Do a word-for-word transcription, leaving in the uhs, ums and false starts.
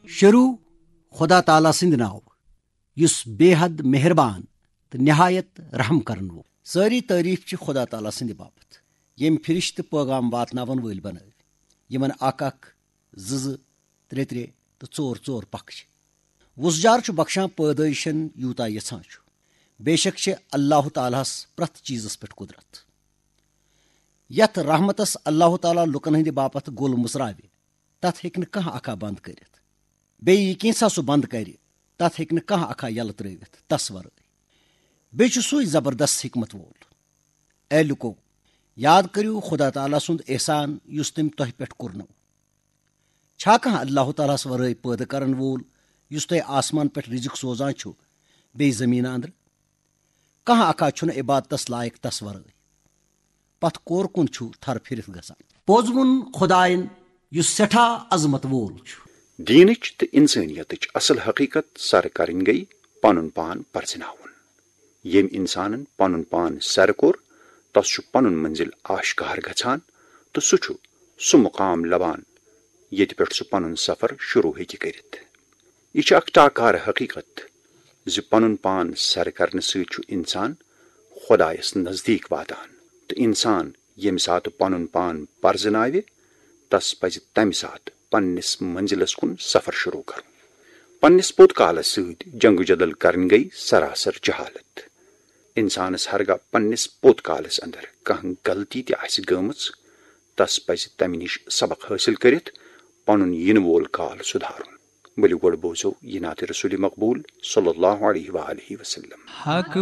شروع خدا تعالیٰ سٕنٛدِ ناوٕ، یُس بے حد مہربان تہٕ نہایت رحم کرن وول۔ سٲری تعریف چھِ خدا تعالیٰ سٕنٛدِ باپتھ، ییٚمۍ فرشتہٕ پٲغام واتناون وٲلۍ بنٲوۍ، یِمن اکھ اکھ، زٕ زٕ، ترٛےٚ ترٛےٚ تہٕ ژور ژور پکھ چھِ۔ وُژھ جار چھُ بخشان پٲدٲیشن یوٗتاہ یژھان چھُ۔ بے شک چھِ اللہ تعالیٰ ہس پرٛٮ۪تھ چیٖزس پٮ۪ٹھ قدرت۔ یتھ رحمتس اللہ تعالیٰ لُکن ہٕنٛدِ باپتھ گول مُژراوِ، تتھ ہیٚکہِ نہٕ کانٛہہ اکھا بند کٔرِتھ۔ بیٚیہِ یہِ کینٛژھا سُہ بند کرِ، تتھ ہیٚکہِ نہٕ کانٛہہ اکھا یلہٕ ترٲوِتھ تس ورٲے۔ بیٚیہِ چھُ سُے زبردست حکمت وول۔ اے لُکو، یاد کٔرِو خدا تعالیٰ سُنٛد احسان یُس تٔمۍ تۄہہِ پٮ۪ٹھ کوٚرنو۔ چھا کانٛہہ اللہ تعالیٰ ہس ورٲے پٲدٕ کرن وول، یُس تۄہہِ آسمان پٮ۪ٹھ رزق سوزان چھُ، بیٚیہِ زٔمیٖنہٕ اندرٕ؟ کانٛہہ اکھا چھُنہٕ عبادتس لایق تس ورٲے۔ پتھ کور کُن چھُ تھر پھِرِتھ گژھان۔ پوٚز ووٚن خدایَن، یُس سٮ۪ٹھاہ عظمت وول چھُ۔ دیٖنٕچ تہٕ اِنسٲنیتٕچ اصل حقیقت سر کرٕنۍ گٔیہِ پنُن پان پرزٕناوُن۔ ییٚمۍ اِنسانن پنُن پان سر کوٚر، تس چھُ پنُن منزل آشکار گژھان تہٕ سُہ چھُ سُہ مقام لبان، ییٚتہِ پٮ۪ٹھ سُہ پنُن سفر شروع ہیٚکہِ کٔرِتھ۔ یہِ چھِ اکھ ٹاکارٕ حقیقت زِ پنُن پان سر کرنہٕ سۭتۍ چھُ انسان خۄدایس نزدیٖک واتان، تہٕ انسان ییٚمہِ ساتہٕ پنُن پان پرزٕناوِ، تس پزِ تمہِ ساتہٕ پننِس منزلس کُن سفر شروع کرُن۔ پننِس پوٚت کالس سۭتۍ جنگ و جدل کرٕنۍ گٔیہِ سراسر جہالت۔ انسانس ہرگاہ پننِس پوٚت کالس اندر کانٛہہ غلطی تہِ آسہِ گٔمٕژ، تس پزِ تمہِ نِش سبق حٲصِل کٔرِتھ پنُن یِنہٕ وول کال سُدھارُن۔ ؤلِو گۄڈٕ بوزو یہِ نعتِ رسول مقبول صلی اللہ علیہ وآلہ وسلم۔ حق